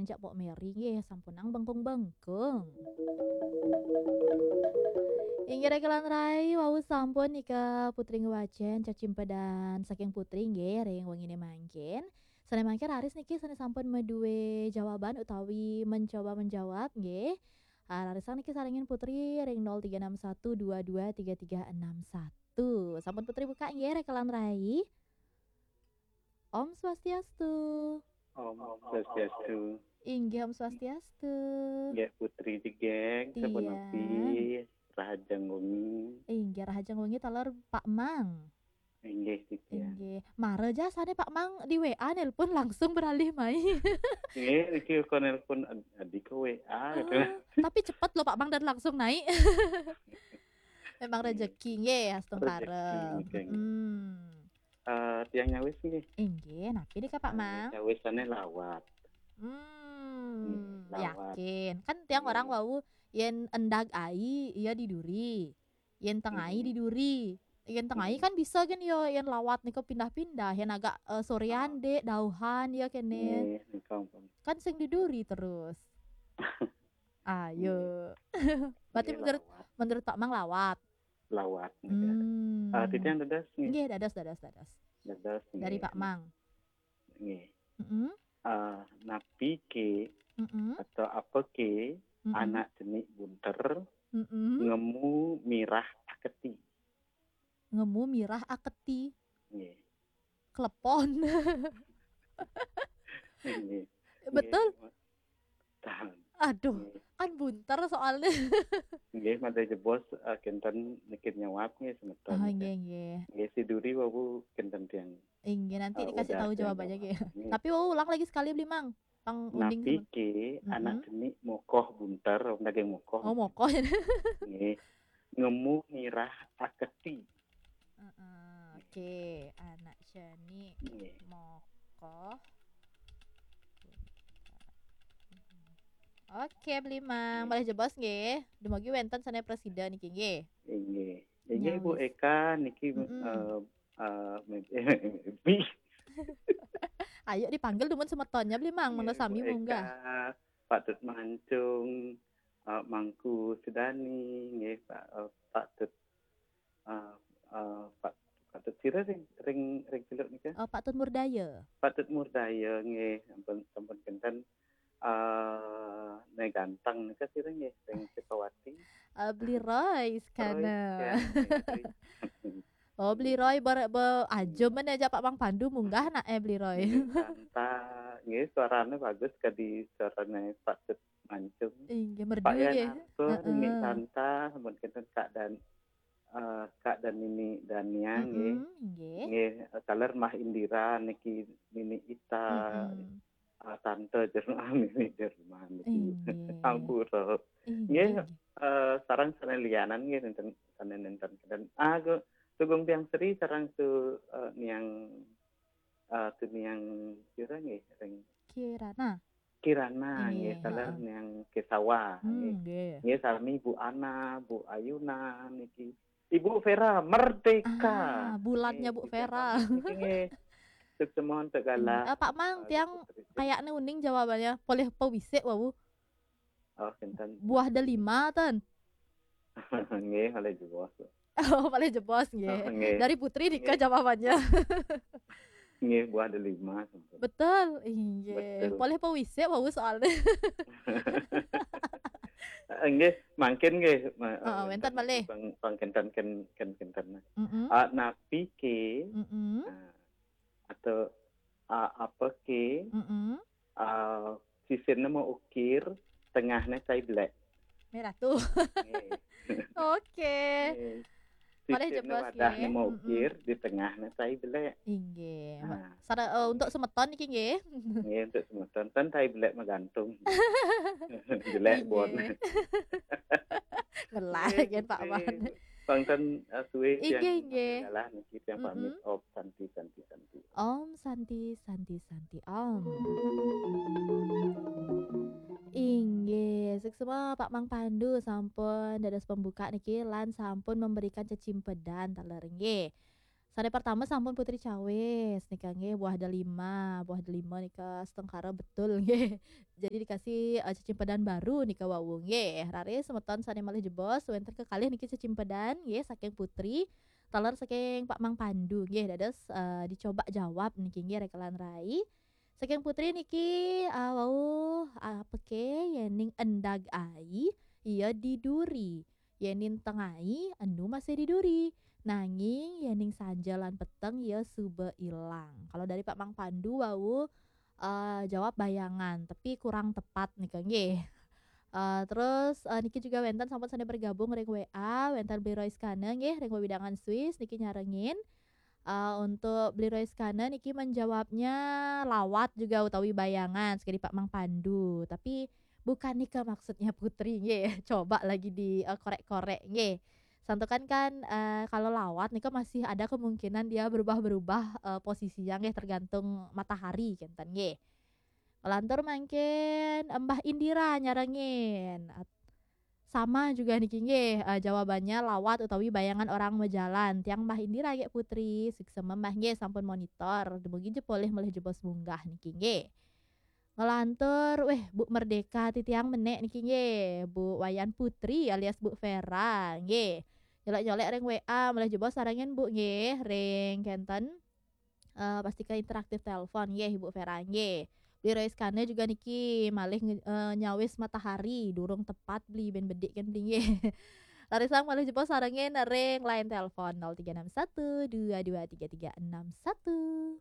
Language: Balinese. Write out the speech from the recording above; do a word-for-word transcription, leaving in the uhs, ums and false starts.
cak Pok Meri nggih, sampunang bengkung-bengkung. Inggih raka lan rai, wau sampun nika Putri ngwacén cacimpedan saking Putri nggih ring wenginé mangkin. Sané mangkin raris niki sané sampun madué jawaban utawi mencoba menjawab nggih. Ah, rarisang niki sarengin Putri ring nol tiga enam satu dua dua tiga tiga enam satu. Sampun Putri buka nggih raka lan rai. Om Swastiastu. Om Swastiastu. Inggih Om Swastiastu. Nggih Putri Jegég, sapunapi? Rahajeng wengi. Inggih rahajeng wengi taler Pak Mang. Inggih titiang. Inggih. Mara ja sané Pak Mang di W A nelpon langsung beralih mai. Nggih, niki kok nelpon ad- adi ke W A gitu. Ah, tapi cepet loh Pak Mang dan langsung naik. Memang rezeki nggih, astungkara. Rezeki, nggih. Hmm. Eh, tiang nyawis nggih. Inggih, napi nika Pak Mang? Nyawis sané lawat. Hmm, lawat. Yakin. Kan tiang orang wau yén endag ai, iya di duri. Yén teng ai di duri. Yén teng ai kan bisa kan ya yén lawat nika pindah-pindah, yén agak eh, soréan dé, dauhan ya kéné. Nggih, nika ampun. Kan sing di duri terus. Ayo. Berarti menurut menurut Pak Mang lawat. Lawat nika. Hmm. Ah, titiang dados nggih. Nggih, dados dados dados. Dados nggih. Dari Pak Mang. Nggih. Mm-mm. Ah, napi ké Mm-mm. atau apa ké Mm-mm. anak cenik bunter Mm-mm. ngemu mirah aketi. Ngemu mirah aketi. Nggih. Klepon. Nggih. Betul. Nggih. Tahan. Aduh, nggih. Kan bunter soalnya. Nggih, mada jebos eh, kinten niki nyawab nggih semeton. Oh, nggih, nggih. Nggih, si duri wau kinten tiang. Inggih, nanti eh, dikasih tahu jawabannya nggih. Nggih. Tapi wau ulang lagi sekali Beli Mang. Pang uning. Napi ké anak cenik mokoh bunter, daging mokoh. Oh, mokoh. Nggih. Ngemu mirah aketi. Heeh, oke, anak cenik mokoh. Oke, Beli Mang, malih jebos nggih. Dumugi wénten sané prasida niki nggih. Inggih. Inggih Bu Eka niki eh, eh, mimpi. Ayo dipanggil dumun semetonnya Beli Mang, mangga sami munggah. Eka, Pak Tut Mancung, eh, Mangku Sudani, nggih Pak eh, Pak Tut eh, eh, Pak Pak Tut sira ring ring ring Celuk nika? Oh, Pak Tut Murdaya. Pak Tut Murdaya nggih, sampun sampun kinten eh né ganteng nika sira nggih ring Sukawati. Eh, Beli Roy sekana. Roy, ya, nggih. Oh, Beli Roy ber, be, aja men aja Pak Mang Pandu munggah nak eh Beli Roy. Nggih, Santa, nggih suarane bagus kadi suarane Pak Tut Mancung. Inggih, merdu nggih. Heeh. Nggih Santa, sampun kinten Kak dan eh, Kak dan Nini Dania nggih. Mm-mm, nggih. Nggih, eh, taler Mah Indira niki Nini Ita. Mm-mm. Eh, tante Jerman Nini Jerman niki. Inggih. Ampura. Inggih. Nggih, eh, sareng sané lianan nggih nénten sané nénten dan ah, gu- Sugeng Tiang Sri sareng su eh, niang eh, tu niang sira nggih ring Kirana. Kirana nggih, nggih, taler heeh. Niang Kesawa nggih. Hmm, nggih. Nggih, sami Bu Ana, Bu Ayuna niki. Ibu Vera Merdeka. Ah, bulannya nggih, Bu Vera. Niki nggih. Sukses mohon tegala. Hmm, eh, Pak Mang, eh, tiang gitu, gitu. Kayaknya uning jawabannya. Polih pewisik wau. Oh, kinten. Buah delima ten. Nggih, malih jebos. Oh, malih jebos nggih. Oh, nggih. Dari Putri nika jawabannya. Nggih, buah delima sampun. Betul, inggih. Betul. Polih pewisik wau soalnya. Nggih, mangkin nggih. Ma- Heeh, eh, wénten malih. Pang pang kinten ken ken kinten. Mm-mm. Ah, napi ké Mm-mm. Ah, atau ah, apa ké Mm-mm. Ah, sisinné maukir, tengahné cai belek. Merah tuh. Nggih. Oke. Nggih. Malih sisinné jebos wadahné nggih. Maukir, mm-mm. Di tengahné cai belek. Inggih. Ah. Sara, eh, untuk semeton niki nggih. Nggih, untuk semeton. Ten cai belek magantung. Belek bon. Ngelah nggih, kan Pak Man. Bangsan uh, suwe inggih, inggih. Dalah niki tiang pamit. Mm-mm. Om Santi Santi Santi. Om Santi Santi Santi Om. Inggih, suksma Pak Mang Pandu sampun dados pembuka niki lan sampun memberikan cecimpedan taler nggih. Sane pertama sampun Putri cawis nika nggih, buah delima. Buah delima nika setengkara betul nggih. Jadi dikasih, eh, cecimpedan baru nika wau nggih. Raris semeton sane malih jebos wenten kekalih niki cecimpedan nggih saking Putri. Taler saking Pak Mang Pandu nggih. Dados, eh, dicoba jawab niki nggih rekelan rai. Saking Putri niki, eh, wau, eh, apeke yening endag ai iya diduri. Yening tengai enu masih diduri. Nanging yening sanja lan peteng ya suba ilang. Kalau dari Pak Mang Pandu wau, eh, jawab bayangan, tapi kurang tepat nika nggih. Eh, terus, eh, niki juga wenten sampun sane bergabung ring W A, wenten Bli Royskana nggih ring wewidangan Swiss niki nyarengin. Eh, untuk Bli Royskana niki menjawabnya lawat juga utawi bayangan, sekali Pak Mang Pandu. Tapi bukan nika maksudnya Putri nggih. Coba lagi di, eh, korek-korek nggih. Santukan kan, eh, kalau lawat nika masih ada kemungkinan dia berubah-berubah, eh, posisinya nggih, tergantung matahari kenten nggih. Ngelantur mangkin Mbah Indira nyarengin. At-, sama juga niki nggih, eh, jawabannya lawat utawi bayangan orang majalan. Tiang Mbah Indira nggih Putri, suksma Mbah nggih sampun monitor. Dumugi jepulih malih jebos munggah niki nggih. Ngelantur, weh, Bu Merdeka titiang menek niki nggih, Bu Wayan Putri alias Bu Vera nggih. Nyolek-nyolek ring W A, malih jebos sarengin Bu nggih, ring kenten. Eh, pastika interaktif telepon nggih, Ibu Vera nggih. Beli Royskana juga niki malih nge-, eh, nyawis matahari, durung tepat beli, ben bedik kan beli nggih. Larisang malih jebos sarengin ring line telepon nol tiga enam satu dua dua tiga tiga enam satu.